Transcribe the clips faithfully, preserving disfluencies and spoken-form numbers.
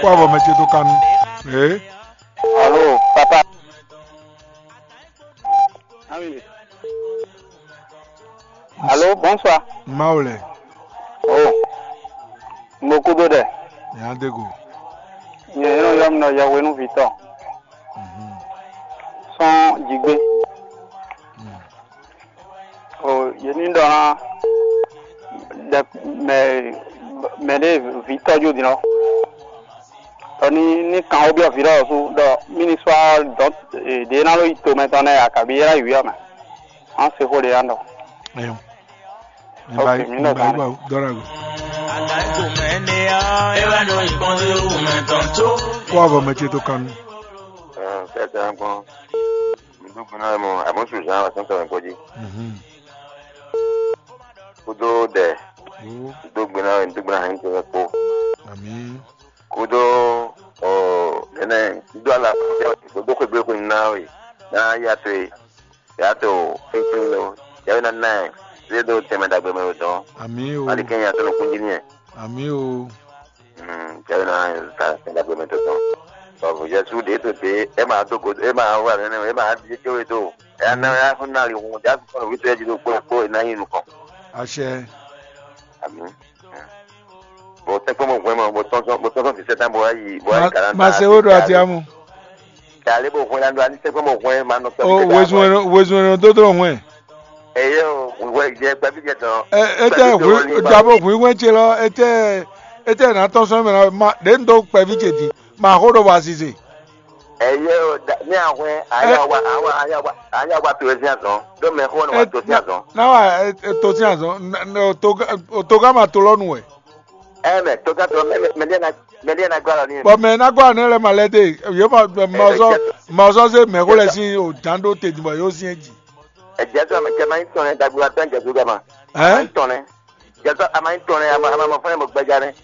Kó avɔ mɛ ce dó kanu. Ee. Alo, papa. Ah oui. Alo, bonsoir. Mawu lɛ. Oh. Mo kúdó ɖɛ. Yadego. Nyɛ yɔn yɔ mi nɔ yɛhwenu vitɔ. Mhm. Sɔn jigbe. Mm. O, yě ní ɖɔ ná ɖe mɛ mɛ ɖé vǐ tɔ́jú din ɔ́. Ɖɔ ní ní kan xó byɔ́ vǐ lɔ sú ɖɔ mí ní sɔ́ dɔ̌n ɖě ná ló yi tomɛ tɔn nɛ́ ǎ, kabǐ é ná yi wǐ ɔ́ mɛ. Má se xó ɖě ná ɖɔ. Ayo. Mi Ok, ba yi, mi mi nɔ ba yi zan ba dɔ́ ɖa go. Kó avɔ mɛ ce tó kanu. Sɛtɛ kpɔn. Mi dó gbe ná mɔ àmọ́ sùn zan wà sɔn tɔmɛ gbɔdzi. Mhm. Kúdó ɖɛ. Wo. Dó gbe ná wɛ, dó gbe ná hɛn tɔmɛ kpó. Ami. Kúdó ɔ nɛnɛ dó ala dó xwé gbé xwé ná wɛ ná yá tó e. Yàtò fífín lo yàwé ná ná ɛ zé ɖó tɛnmɛ ɖagbe mɛ ɖo dɔn. Ami o. Ali kɛn yàtò nukún jí nìyẹn. Ami o. Yàwé ná ɛ zé ta tɛnmɛ ɖagbe mɛ ɖo dɔn. Bɔbɔ Jésù ɖě tó ɖě é máa dó go é máa wá nɛnɛ é máa di céwé dó. Ɛ ná ɛ fún ná li hun já fún nǔ wító ɛ jí ɖó kpó kpó é ná nyi nukɔn. Àṣẹ. Ami. Bó tɛ́nkpɔ́n bó hwɛ́n mɔ bó tɔ́n bó tɔ́n sɔn fǐsɛ́ tán bó wá yi bó wá yi kàlá. Ma se wó ɖo ati amu. Kàlí bó hwɛ́n ná ɖó ani tɛ́nkpɔ́n bó hwɛ́n ma nɔ kpɛ́. O wezun wezun ɖó dó hwɛn. Eye o wɛ jɛ kpɛví jɛ tɔn. Ɛ etɛ hu jabo hu hwɛn ce lɔ etɛ etɛ na tɔn sɔn mɛ na ma ɖe n do kpɛví ce di ma xo ɖo wa sise. Eye o ní ahwɛn aya wa aya wa aya wa to ezi azɔn ɖó mɛ xo ne wa to ezi azɔn. Na wa to ezi azɔn o to gama to lɔ nu wɛ. Ɛ mɛ to gama to lɔ mɛ mɛ mɛ mɛ ɖe na gba lɔ ni. Bɔn mɛ na gba ne lɛ ma lɛ de yóò ma ma zɔ ma zɔ se mɛ xo lɛ si o dan ɖo te dibɔ yóò si ɛ dzi. Ɛjɛ sɔ mɛ kɛ ma yi tɔn ɛ dagbo atɔ ɛjɛ so gama. Ɛ. Tɔn nɛ. Jɛ sɔ ama yi tɔn nɛ ama ama ma fɔ ne mo gbɛja nɛ.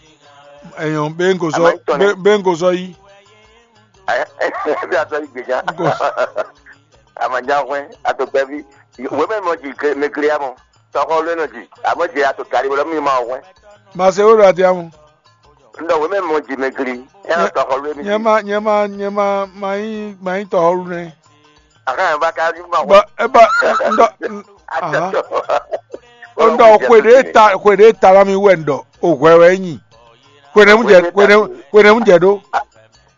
Ɛyɔn bɛ n ko sɔ bɛ n ko sɔ yi. Ɛ ɛ bí a sɔ yi gbèjà. Ama nya hwɛ ato gbɛvi. Wo mɛ mɔ ji mɛ kiri amɔ. Tɔkɔ lé nɔ ji. Amɔ ji ato kari wala mi ma hwɛ. Ma se wo ɖo ati amu. N ɖɔ wěmɛ mɔ ji mɛ gli. Ɛ nɔ tɔxɔlu émi. Nyɛ ma nyɛ ma nyɛ ma ma nyí ma nyí tɔxɔlu nɛ. Ahan ba ka ju ma. Bɔ eba n ɖɔ n- ahan. N ɖɔ xwe ɖe ta xwe ɖe ta la mi wɛ n ɖɔ o hwɛ wɛ nyi. Xwe nɛ mu jɛ xwe nɛ mu xwe nɛ mu jɛ ɖo.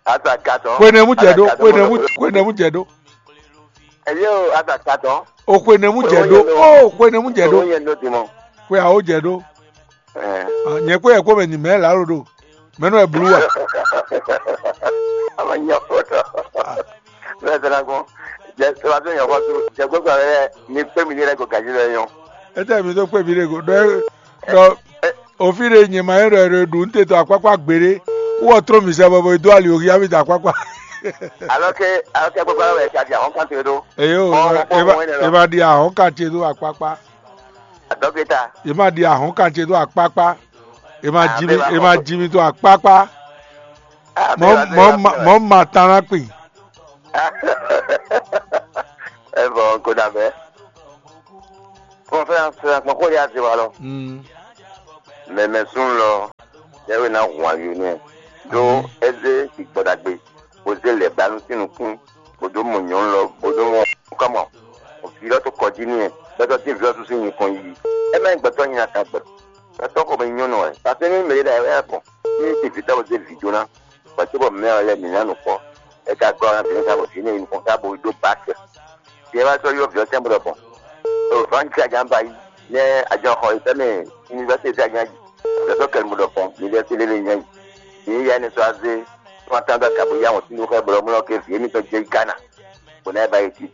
Asa katɔ. Xwe nɛ mu jɛ ɖo xwe nɛ mu xwe nɛ mu jɛ ɖo. Ɛyɛ o asa katɔ. O xwe nɛ mu jɛ ɖo o xwe nɛ mu jɛ ɖo. Xwe awo jɛ ɖo. Nyɛ kpé yɛ kpó mɛ ni mɛ lǎlo ɖo mɛ nɔ ɛ blu wa. Ama nya fɔtɔ. Mɛ tɛna gbɔn. Jɛ sɔlá tó nya fɔtɔ. Jɛ gbogbo awɛ ni kpé mi ni lɛ ko gaji lɛ nyɔ. Etɛ mi tó kpé mi ɖe go ɖɔ ɖɔ òfin ɖe nyɛ ma yɛ ɖɔ ɖɔ ɖu nte tɔ akpakpa gbeɖe. Wɔ tró mi sɛ bɔbɔ do ali òhi ami da akpakpa. Alɔ ke alɔ ke gbogbo awɛ ka di ahɔn kan te ɖo. Eyo ema di ahɔn kan te ɖo akpakpa. Dɔkita. È ma ɖi ahɔ̌nkan ce dó akpákpá. È ma ji mì, è ma ji mì dó akpákpá. Mɔ̌ mɔ̌ ma tán ná kpi. Ɛ vɔ ko da bɛ. Kɔn fɛ an fɛ an kpɔn ko ya se wa lɔ. Mɛ mɛ sún lɔ. Yɛ wɛ na hun ayo nɛ. Ɖó é zé sigbɔ ɖagbe, bó zé lɛ̌ ba nú sín nukún, bó dó mɔ nyɔ̌nu lɔ, bó dó mɔ kɔmɔ. Vǐ lɔ tó kɔ jí n'i, bɛtɔ́ dín vǐ lɔ sú sín nyǐkɔ yíyí. É má nyí gbɛtɔ́ nyi atan gbɛ. Gbɛtɔ́ xomɛ nyí nyɔ́nu wɛ. Paseke ní mɛ ɖé ɖo ayǐwá ya gbɔn, ní é ɖe vǐ tɔn bó zé vǐ jó ná, bɔ cóbɔ mɛ ɔ́ lɛ́ɛ mǐ ná nǔ kpɔ́. É ka gɔ́ ná vǐ nú ká bɔ vǐ énɛ́ nyí nukɔn ká bo dó bǎ kɛ. Din e wá sɔ́ ylɔ́ vǐ ɔ́ tɛ́nbɔ́ ɖɔhun. Ɖo vǎnci ajǎ ba yi, nɛ́ ajɔxɔ yi fɛ́ mɛ univɛsitɛ ajǎ yi. Vɛ̌ sɔ́ kɛnúmɔ ɖɔhun, mi lɛ́ sí lélé nyá yi. Mi yí ya énɛ́ sɔ́ azé, tɔ́n atán dó aga bó yá wɔn sín xɛ blɔ́ mlɔ́ ké vǐ émítɔn jɛ yi Gána, bó ná yi ba yi jí.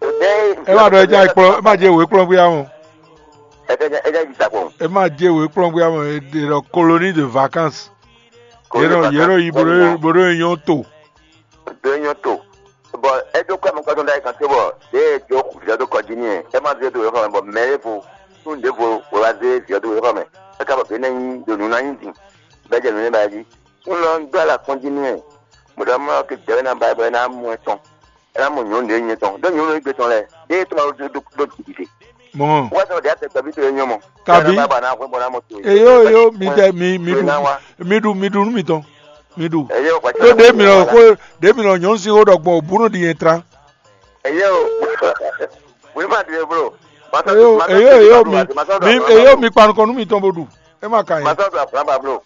Ɖɛ̌ É má ɖɔ é já yi kplɔ́n, é má jɛ wě kplɔ́n gbé amɔ. Ɛ jẹ́ ɛ jẹ́ yi sakpɔn. É má jɛ wě kplɔ́n gbé amɔ, è ɖɔ colonie de vacances. Yě nɔ yě nɔ yi bó ɖó bó ɖó nyɔ́ to. Ɖó nyɔ́ to. Bɔ é dó kɔ mɔkpɔ́tɔ́ ɖ'ayǐ kan tó bɔ ɖěe é jó vǐ ɔ́ dó kɔ jí n'i é má zé dó yǒxɔ mɛ bɔ mɛ ɖěvo nú ɖěvo wɛ wá zé vǐ ɔ́ dó yǒxɔ mɛ, é ka bɔ vǐ énɛ́ nyí ɖo nǔ ná nyí din, bɔ é jɛ nǔ nɛ́ ba jí. Un lɔ un dó alɔ akpɔ́n jí n'i wɛ, bó ɖɔ mɔ ké jɛ é ná ba é bɔ é ná mɔ ɛ tɔn, é ná mɔ nyɔ̌nu ɖě nyɛ tɔn, ɖó nyɔ̌nu égbé tɔn lɛ́ɛ ɖěe tɔn ɖó ɖó ɖó jǐɖiɖe. Mɔ̌ Wá sɔ́ ɖě atɛ gbɛ́bí tó é nyɔ́ mɔ. Kabi. Bɔ ná hwɛ bɔ ná mɔ to é. Eyo eyo mi tɛ mi mi ɖu mi ɖu nú mitɔn. Mi ɖu. Ɖó ɖě mǐ nɔ xó, ɖě mǐ nɔ nyɔ̌nu sín xó ɖɔ gbɔn wǔbúnu ɖi nyɛ tlán. Eyo, wíwá ɖi blo. Eyo, eyo, eyo, mi, mi, eyo, mi kpa nukɔn nú mitɔn bo ɖu. É ma ka nyɛ. Masɔ́ ɖo ablǎba blo.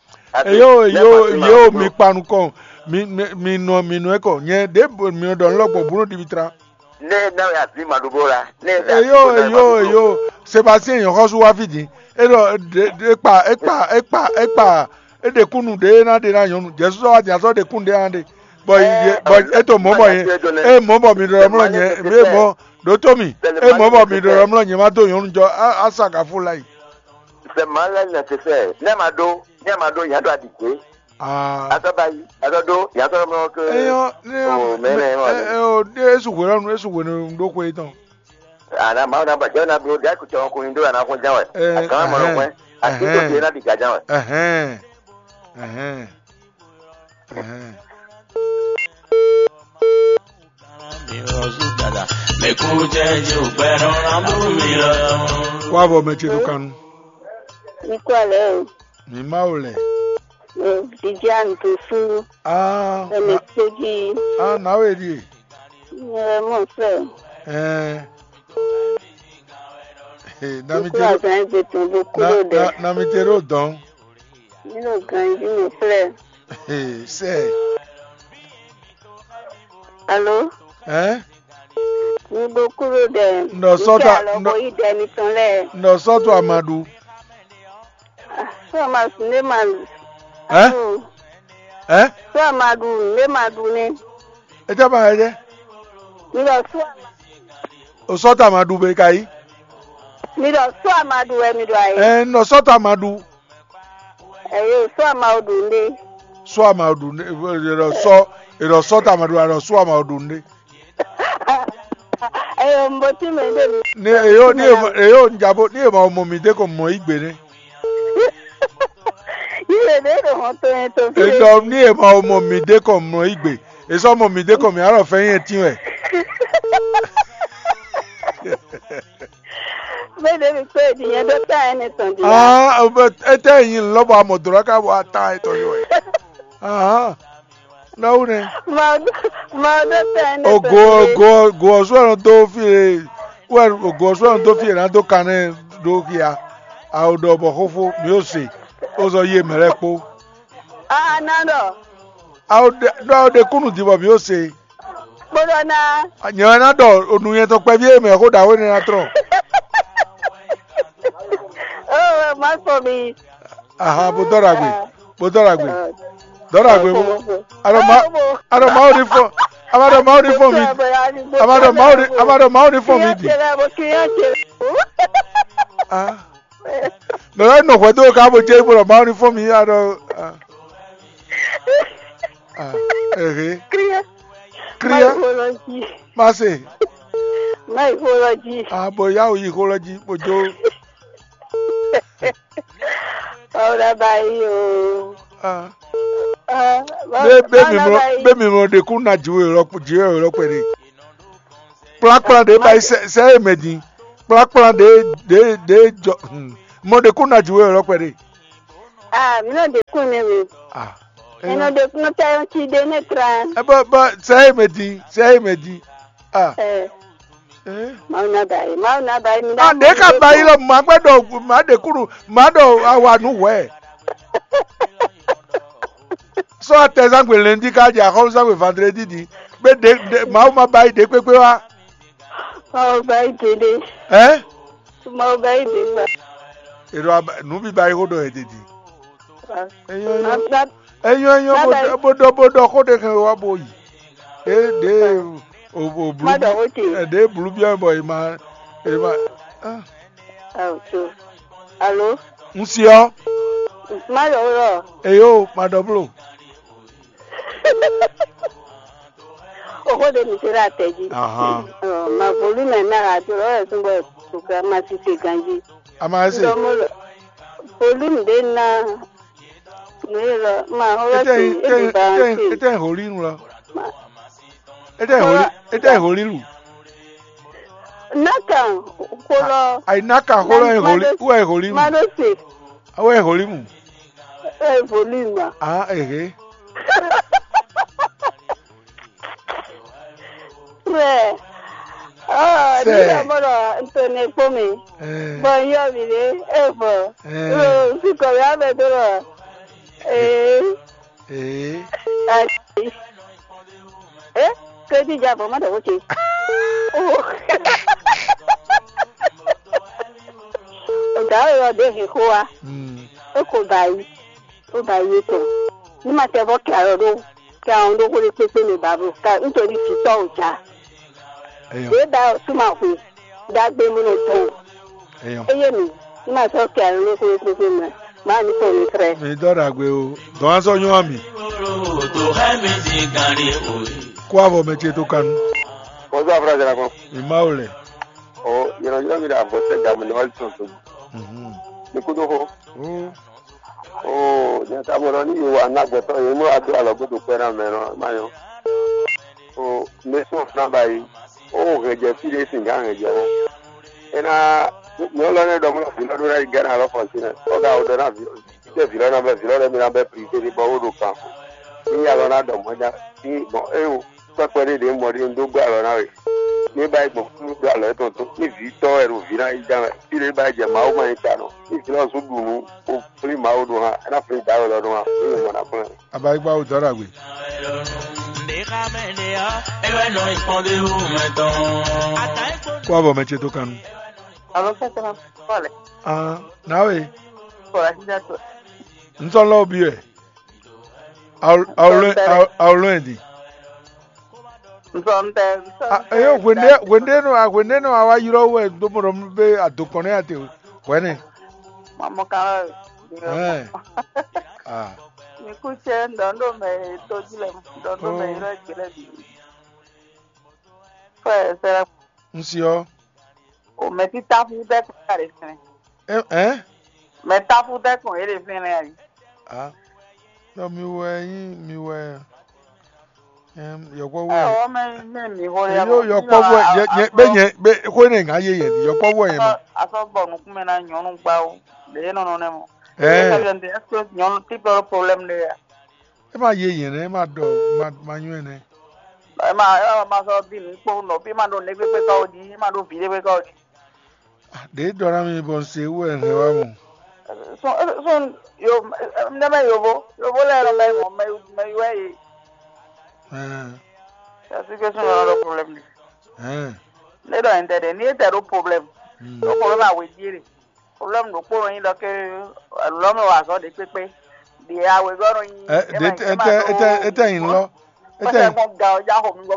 Eyo, eyo, eyo, mi kpa nukɔn. Mi, mi, mi nɔ, mi nɔ ɛ kɔ. Nyɛ ɖě mi nɔ ɖɔ nú lɔ gbɔn wǔbúnu ɖi mi tlán. Ne na ya vi ma ɖu blo la. Ne ya Eyo, eyo, eyo. Sébastien nyɔ̌xɔ́sú wá fí din. É ɖɔ ɖe ɖe kpa é kpa é kpa é kpa é ɖe kúnnu ɖe é ná ɖe ná nyɔ̌nu. Jɛ̌sú sɔ́ wá din a sɔ́ ɖe kúnnu ɖe ná ɖe. Bɔ yi bɔ é to mɔ̌ bɔ nyɛ é mɔ̌ bɔ mi ɖɔ mlɔ́ nyɛ mi é mɔ̌ ɖǒtó mi é mɔ̌ bɔ mi ɖɔ mlɔ́ nyɛ má dó nyɔ̌nu jɔ á á sa gǎfó láyi. Sɛ mǎ lɛ́ nɛsɛsɛ́, nɛ́ a ma ɖó, nɛ́ a ma ɖó, nya ɖo aɖǐ gbé. Aa. Azɔ ba yi, azɔ ɖó, nya sɔ́ mlɔ́ ké. Eyɔ ne O mɛ nɛ mɔ ɛ ɛ o ɖe esu hwe lɔnu esu hwe ne ɖo xwe tɔn. Ana Mawu na ba jɛ na blo ɖe akutɔ ko nyi ɖó ana ko ján wɛ. Ɛ, Akan ma nɔ ɛhɛn, hwɛ. Ati ko ɛhɛn. Ɖe na ɖi gaján wɛ. Ɛhɛn. Ɛhɛn. Ɛhɛn. Wá vɔ mɛ ce ɖo kanu. Mi kú alẹ́ o. Mi Mawu lɛ. Viviane Tofu. Ah, Ẹ̀mí na, péjì. Ah, na we ɖie. Ẹ mọ̀ fẹ́. Ɛɛ. Hey, na mi Kúrò te àgbà ẹgbẹ́ tó bó na kúrò dẹ̀. Na, na mi te ɖo dɔn. Mi ɖo ganjí mi fẹ́. Hey, sɛ. Alo? Ɛɛ? Mi bó kúrò dẹ̀. Nɔ sɔ́tɔ Ìkẹ́ àlọ́ nɔ bó yí dẹ̀ mi tán lẹ̀. Nɔ sɔ́tɔ amadu. Sɔ ma ne ma. Ɛɛ? Ɛɛ? Sɔ ma ɖu ne ma ɖu ne. Etsɛ ma yɛ jɛ. Mi ɖɔ sɔ. O sɔ́tɔ amadu be ka yi. Mi ɖɔ sɔ ma ɖu wɛ mi ɖɔ ayi. Ɛɛ, nɔ sɔ́tɔ amadu. Ɛyɛ sɔ ma ɖu ne. Sɔ ma ɖu ne. Erɔ sɔ erɔ sɔ́tɔ amadu erɔ sɔ ma ɖu ne. Eyo, mbo tí mi ɖe mi. Ni eyo ni ema eyo njabo ni ema ọmọ mi de ko mọ igbe ne. Yile ɖe ɖo hɔn to yẹn to fi. Edɔ ni ema ọmọ mi de ko mọ igbe. Esɔ ọmọ mi de ko mi arɔ fɛ yẹn ti wɛ. Bẹ́ẹ̀ ni pé èdè yẹn dó tá ẹni tàn dì. Ah, ete yin lọbọ amọ dọrọ ká wọ ata etọ yọ ẹ. Ah. Nɔwu nɛ. Mawu ɖo te ene. Ogo ogo ogo ɔsú ɛnɔ dó fí e wɛ ogo ɔsú ɛnɔ dó fí e ná dó kan nɛ ɖó xia awo ɖɔ bɔ xófó mi ó se ó zɔ yé mɛ lɛ́ɛ kpó. Aa ná ɖɔ. Awo ɖe ɖɔ awo ɖe kúnnú din bɔ mi ó se. Kpódɔ ná. Nyɛ wɛ ná ɖɔ onu nyɛ tɔn kpɛví e mɛ xó ɖaxó énɛ́ ná trɔn. Oh, má sọ mi. Aha, bó dɔ́ ɖagbe, bó dɔ́ ɖagbe, dɔ́ ɖagbe bó. Aɖɔ ma, aɖɔ Mawu ní fɔ, ama ɖɔ Mawu ní fɔ mi, ama ɖɔ Mawu ní, ama ɖɔ Mawu ní fɔ mi di. Ah, mɛ wɛ nɔ hwɛ dó ká bó jẹ́ bó ɖɔ Mawu ní fɔ mi aɖɔ. Ah, ah, ehe. Kriya. Kriya. Ma se. Ma yi xó lɔ jí. Ah, bó yá wò yi xó lɔ jí bó jó. Ɔwɔ ɖaba yi o. Ah. Ah, bɛ bɛ mi mlɔ bɛ mi mlɔ ɖe kún na jiwe lɔ jiwe lɔ kpɛ ɖe. Kplakpla ɖe ba yi sɛ sɛ ye mɛ din. Kplakpla ɖe ɖe ɖe jɔ. Hmm. Mɔ ɖe kún na jiwe lɔ kpɛ ɖe. Ah, mi nɔ ɖe kún ne mi. Ah. Mi nɔ ɖe kún tɛ yɔn ti ɖe ne tra. Ɛ bɔ bɔ sɛ ye mɛ din sɛ ye mɛ din. Ah. Ɛ. Eh. Mawu na ba yi, Mawu na ba yi, mi na. Ah, ɖe ka ba yi lɔ ma gbɛ ɖɔ ma ɖe kúɖu ma ɖɔ awa nu hwɛ. Sɔ atɛzangbe lɛndi ka jɛ axɔluzangbe vandredi di. Be ɖe ɖe Mawu ma ba yi ɖe kpekpe wa. Mawu ba yi ɖe ɖe. Ɛ? Mawu ba yi ɖe gba. Ero aba nu bi ba yi xo ɖɔ ede di. Ah. Enyɔ enyɔ. Enyɔ enyɔ bo ɖɔ bo ɖɔ xo ɖe hɛn wa bo yi. Ɖe ɖe o o blu. Ma ɖɔ xo ce. Ɛ ɖe blu biɔ bɔ e ma e ma. Ah. Awo to. Alo. N si ɔ. Ma ɖɔ xo ɖɔ. Eyo ma ɖɔ blo. Oxó ɖé mi se ɖo atɛ jí. Ahan. Ɔ, ma volume ná ha do lɔ ɛsùn bɔ programme ma si se ganji. Ama ese. Ndɔ mo lɔ volume ɖé ná. Mi lɔ ma xɔ lɔ Ete si ete ete ba ete se. Ete holi nu lɔ. Ete holi ete holi lu. Naka xolɔ. Ayi naka xolɔ e holi u e holi mu. Ma ɖo se. Awo e holi mu. E volume ma. Ah, ehe. Ɛ, ɔ, Sɛ. Mi ɖɔ mɔ ɖɔ un to nɛ kpɔ́n mɛ. Ɛ. Bɔ un yɔ mì ɖě, e vɔ. Ɛ. Lo, un si kɔ mì amɛ dó ɖɔ. Ee. Ee. Ati. E, ke di ja bɔ ma ɖɔ ko ce. O da o yɔ de he ko wa. Mm. E ko ba yi. Ó ba yi tɔn. Ní ma tɛ vɔ kɛ alɔ ɖó kɛ àwọn ɖó xó ɖé kpékpé mɛ ba blo. Ka nítorí vǐtɔ́ ò já. Eyɔn. Ɖě da súnmọ́ hwe. Dagbe mú nɔ dɔn. Eyɔn. Eye mi. Ní ma sɔ kɛ alɔ ɖó xó ɖé kpékpé mɛ. Má ní sɔ mi trɛ. Mi dɔ ɖagbe o. Dɔn asɔ nyɔ ami. Kó avɔ mɛ ce tó kanu. Bonsoir, frère Jonathan. Mi ma o lɛ. Oh, yɛrɛ yɛrɛ mi da bɔ sɛ gamu ne wali tɔn to. Mhm. Ni kudo ho. Oh. Oh, nyɛ ka mɔ ɖɔ ní mi wa ná gbɛtɔ́ yě mɔ adó alɔ gbɔdɔ kpɛ ná mɛ nɔ ma nyɔ. Oh, mɛ sɔn fúnra ba yi. Oh, hɛn jɛ fí ɖé sin gán hɛn jɛ mɔ. Ena nyɔ lɔ ne ɖɔ mɔ vǐ lɔ ɖó ná yi gán alɔ fɔntin nɛ. Ɔ ga o ɖɔ ná vǐ tɛ vǐ lɔ ná bɛ vǐ lɔ lɛ mi ná bɛ privé ɖé bɔ wó ɖo kan. Ní ya lɔ ná ɖɔ mɔ ja. Ní bɔn é o. Kpɛkpɛ ɖé ɖě mɔ ɖé un dó gbɛ́ alɔ ná we. Ní é ba yi gbɔn kúkú gbɛ́ alɔ étɔn tó. Ní vǐ tɔn wɛ ɖo vǐ ná yi dán wɛ. Fí ɖé ba yi jɛ Mawu ma nyí ta nɔ. Ní vǐ lɔ zú ɖu nǔ, bó flín Mawu ɖó hã, é ná flín dǎwe lɔ ɖó hã, é nyí mɔ ná kplɔ́n ɛ. Abayigba wo dɔ́ ɖagbe. Kó abɔ mɛ ce tó kan nu. Alo, sɛsɛ ma fɔ lɛ. Ah, nawe. Kɔla sida to. N sɔ lɔ bi wɛ. Awlo awlo awlo ɛ di. Nsɔntɛ, nsɔntɛ. Eyo hwende hwende nɔ hwende nɔ awa yrɔ wɛ do mo ɖɔ be adokɔn ne ate hwɛnɛ. Mamɔ kan wɛ. Ɛɛ. Ah. Mi ku cɛ ndɔn ɖo mɛ to ji lɛ, ndɔn ɖo mɛ yrɔ ji lɛ bi. Fɛ sɛ. N si ɔ. O mɛ ti ta fu tɛ kpa ɖe fɛnɛ. Ɛ ɛ. Mɛ ta fu tɛ kɔn e ɖe fɛnɛ ayi. Ah. Yɔ mi wɛ yín mi wɛ. Yɔkpɔ́vú wɛ. Ɔ mɛ mɛ mi xɔ ya. Yɔ yɔkpɔ́vú wɛ yɛ yɛ bɛ nyɛ bɛ xɔ ne ŋa yé yɛ yɔkpɔ́vú wɛ yɛ ma. Asɔ bɔ nukun mɛ na nyɔnu gbawo ɖe e nɔnɔ nɛ mɔ. Ɛɛ. Ɛsɛ nyɔnu ti kplɔ problème ɖe ya. E ma yé yɛ nɛ e ma dɔ ma ma nyɔ nɛ. E ma e ma sɔ di nu kpɔn nɔ bi ma ɖo ne gbegbe kɔ di e ma ɖo vi ɖe gbegbe kɔ di. Ɖě ɖɔ ná mi bɔ un se wú wɛ un hɛn wá mɔ. Sɔn sɔn yo ndé mɛ yovo yovo lɛ nɔ mɛ mɔ mɛ mɛ yɔ ɛ ye. Ɛɛ. Ɛsike sɔn yɔrɔ ɖo problème de. Ɛɛ. Ne ɖɔ ɛn tɛ de ni e tɛ ɖo problème. Hmm. Ɖo problème awe die de. Problème ɖokpó nɔ nyi ɖɔ ke lɔmɛ wa azɔ ɖe kpekpe. Ɖi awe gɔ nɔ nyi. Ɛ ɖe ete ete ete yin lɔ. Ete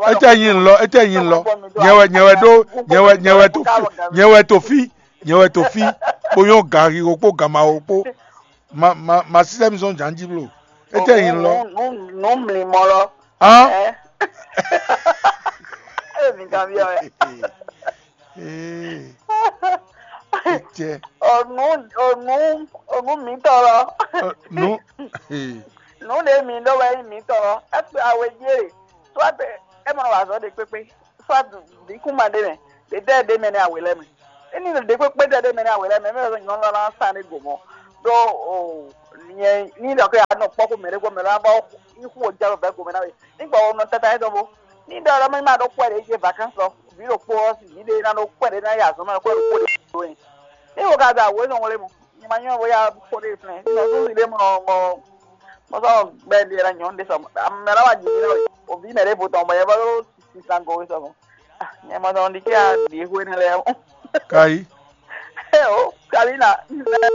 ete yin lɔ ete yin lɔ. Nyɛ wɛ nyɛ wɛ ɖo nyɛ wɛ nyɛ wɛ to fi nyɛ wɛ to fi nyɛ wɛ to fi. Kponyɔ gari wo kpo gama wo kpo. Ma ma ma système zɔn janji blo. Ete yin lɔ. Nu mli mɔ lɔ. Ah. Ɛ mi kan bi ɔ. Ee. Etsɛ. Onu onu onu mi tɔ lɔ. Nu. Ee. Nu ɖe mi ɖɔ wɛ mi tɔ lɔ. Ekpe awe die. Soit e mɔ wa zɔ ɖe kpekpe. Soit ɖi kuma ɖe mɛ. Ɖe ɖe ɖe mɛ ne awe lɛ mɛ. Eni ɖe kpekpe ɖe ɖe mɛ ne awe lɛ mɛ. Mɛ nyɔnu lɔ na sa ne go mɔ. Ɖo o nyɛ ni ɖɔ ke anɔ kpɔ ko mɛ ɖe ko mɛ lɔ abɔ. Ihu o jalo bɛ go mɛ na we. Nígbà wo nɔ tata yɛ dɔn bo. Ní ɖɔ ɔ́ mɛ má ɖó kpɔ́ ɖě jɛ vacances lɔ, vǐ ɖokpó ɔ́, vǐ ɖé ná ɖó kpɔ́ ɖě ná yi azɔ̌ mɛ kpɔ́ ɖokpó ɖě ɖó ɛ. Ní wo ka da wǒ nɔ wlé mɔ, nyɛ ma nyɔ́ bóyá kpɔ́ ɖě flɛ́, ní nɔ súnsi ɖé mɔ mɔ mɔ sɔ́ gbɛ ɖě ná nyɔ̌ ɖé sɔ mɛ ná wá jǐ mì nɔ o vǐ mɛ ɖěvo tɔn bɔ yɛ vɔ ɖó sisan go wé sɔ mɔ. Nyɛ ma dɔn ɖi ké a ɖě hwé nɛ lɛ́ɛ. Kayi. Eo, Kalina,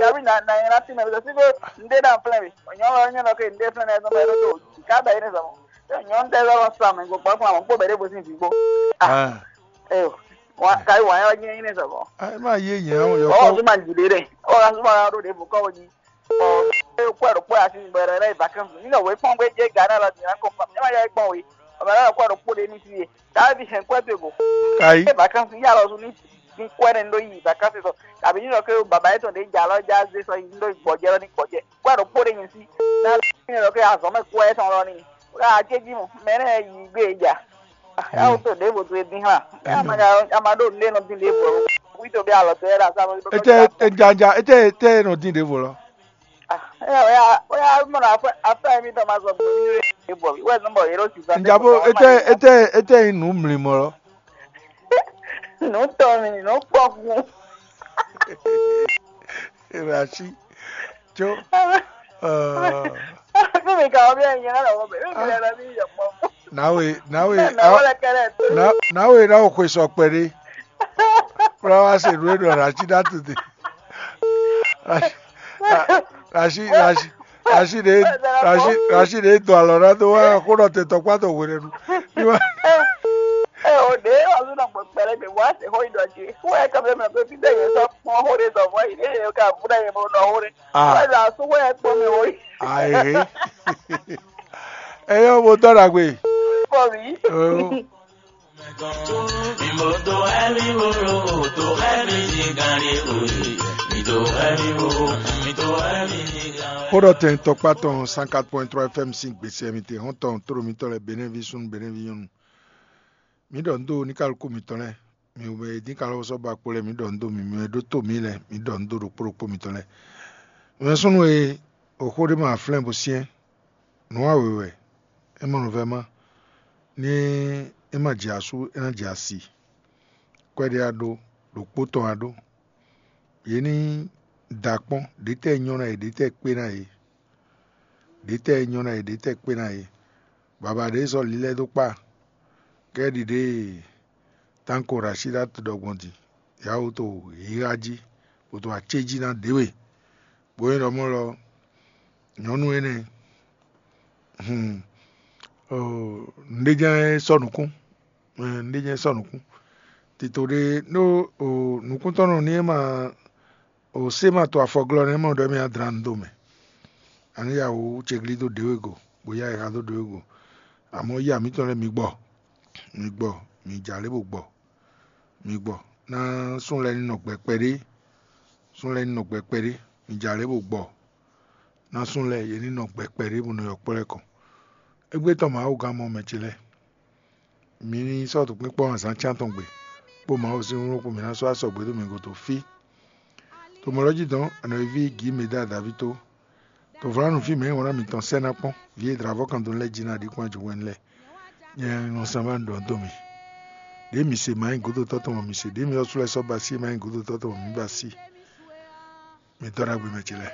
Kalina, na yẹn na ti mɛ bɛ si ko nde na flɛ mi. Onyɔ lɔ nyɔ lɔ ke nde flɛ na ɛsɔ mɛ do. Ka bɛ ne sɔ. Nyɔ nde lɔ sa mɛ go kpɔ kpɔ ko bɛ de bo sin vi gbo. Ah. Eo. Wa kai wa yɔ nyɛ ne sɔ. Ah, ma ye yẹn o yɔ. Oh, ko ma di de de. Oh, la suma do de bo ko ni. Oh, e ko ro ko asi bɛ re na vacances. Ni no we kpɔn gbe je Ghana la di na ko. E ma ya kpɔn we. O ma la ko ro ko de ni si. Davi hɛn kwɛ do go. Kai. E vacances ya lɔ su ni. Ní kwɛ́ nɛ́ ní ɖó yi vacances sɔ, tàbí ní ɖɔ ké baba yětɔn ɖě jɛ alɔ já zé sɔ yi ní ɖó gbɔjɛ́ lɔ ní gbɔjɛ́. Kwɛ́ ɖokpó ɖé nyi sí. Ná ní ɖɔ ké azɔ̌ mɛ kwɛ́ tɔn lɔ ní. Wá ajéjí mɔ, mɛ nɛ́ yi gbé e ja. Yàwó tó ɖěvo tó e dín hàn. Ama ɖó nɖé nɔ dín ɖěvo. Wí tó bí alɔ tó yɛ ɖo asá lɔ. Ete ejanja ete ete nɔ dín ɖěvo lɔ. Oya oya mɔ na afɛ mi tɔ ma sɔ gbɔ mi ɖěvo. Wɛ nɔ bɔ yɛ ɖo si. Njabo ete ete ete yi nù mlimɔ lɔ. Nǔ tɔn mi, nǔ kpɔkun. Rashi, tso. Fún mi ka wọ́n bí ẹ̀yin náà lọ́wọ́ bẹ̀, fún mi lẹ́nu bí yọ̀ pọ̀ fún. Nawe, nawe, Bẹ́ẹ̀ náà wọ́n lẹ kẹ́lẹ́ tó. Na- nawe na o xwe sɔ kpɛɖe. Kura wa se nue ɖɔ Rashi na tete. Rashi, Rashi, Rashi, Rashi ɖe, Rashi, Rashi ɖe dɔ alɔ na do wa xó nɔ te tɔkpa tɔ hwe ɖe nu. Ni wa. Ɛ o ɖe wa zun nɔ gbɔ kpɛlɛ mi wa se xó yi dɔ ji. Xó yɛ kɛmɛ mɛ ko fi de yɛ sɔ kpɔn xó ɖe dɔ vɔ yi ɖe yɛ ka bu ɖe yɛ mo nɔ xó ɖe. Ah. Wɛ la so xó yɛ kpɔn mi wo yi. Ayi. Eyɔ mo tɔ ɖagbe. Kpɔ mi. Oyo. Xó ɖɔ tɛn tɔkpa tɔn cent quatre point trois F M sín gbèsè mi te hɔn tɔn tóɖo mitɔn lɛ Benɛvi súnnu Benɛvi nyɔnu. Mi ɖɔ nǔ dó ní kálukú mitɔn lɛ. Mi wɛ dín ka lɔ sɔ́ ba kpo lɛ mi ɖɔ nǔ dó mi, mi wɛ ɖótó mi lɛ mi ɖɔ nǔ dó ɖokpó ɖokpó mitɔn lɛ. Mi wɛ súnnu e oxó ɖé ma flɛ́n bo syɛ́n, nǔ wa wěwɛ, é ma nɔ vɛ́ má. Ní é ma jɛ asú, é ná jɛ asi. Kwɛ́ɖé a ɖó, ɖokpó tɔn a ɖó. Yě ní da kpɔ́n, ɖětɛ́ nyɔ́ ná yě, ɖětɛ́ kpé ná yě. Ɖětɛ́ nyɔ́ ná yě, ɖětɛ́ kpé ná yě. Baba ɖě sɔ́ lílɛ́ dó kpá, kɛ́ ɖiɖe tanko Rashida ɖɔ gbɔn din, yǎ wú to híhá jí, bó to acéjí ná ɖě we. Bó nyí ɖɔ mɔ̌ lɔ, nyɔ̌nu énɛ́, hun, nǔɖé jɛ́n sɔ́ nǔkún, nǔɖé jɛ́n sɔ́ nǔkún. Tito ɖé ɖó nǔkúntɔ́ nɔ ní é ma o sé ma to afɔglɔ́ nɛ́ mɔ ɖɔ mì adlǎn dó mɛ. Ani ya wú cegli dó ɖěwe go, bó ya ayǐha dó ɖěwe go. Amɔ̌ ya mǐtɔn lɛ́ɛ mi gbɔ, mi gbɔ, mi jǎ lé bó gbɔ, mi gbɔ. Ná sún lɛ́ɛ ní nɔ gbɛ kpɛɖé, sún lɛ́ɛ ní nɔ gbɛ kpɛɖé, mi jǎ lé bó gbɔ. Ná sún lɛ́ɛ yě ní nɔ gbɛ kpɛɖé bó nɔ yɔ kplɔ́ ɛ kɔn. Égbé tɔn Mawu gán mɔ mɛ ce lɛ́ɛ. Mi ní sɔ́ tokpínkpɔ́n azǎn cyán tɔn gbe, kpó Mawu sín wlú kpó mǐ ná sɔ́ asɔgbe dó mi gúdo fí. To mɔ̌ lɔ́ jí dɔn, anɔ̌ví Gǐ Meda Daví tó. To vlanu fí mɛ e wlán mǐtɔn sɛ́ ná kpɔ́n, vǐ e dlǎvɔ́ kan dó lɛ́ jí ná ɖi kpɔ́n ajɔ̌wɛ́nú lɛ́ɛ. Nyɛ nɔ sán bá dɔn dó mi. Ɖěe mi se ma nyí gǔdo tɔ́ tɔn mɔ mi se, ɖěe mi ɔ́ sú lɛ́ɛ sɔ́ ba sí ma nyí gǔdo tɔ́ tɔn mɔ mi ba sí. Mi dɔ́ ɖagbe mɛ ce lɛ́ɛ.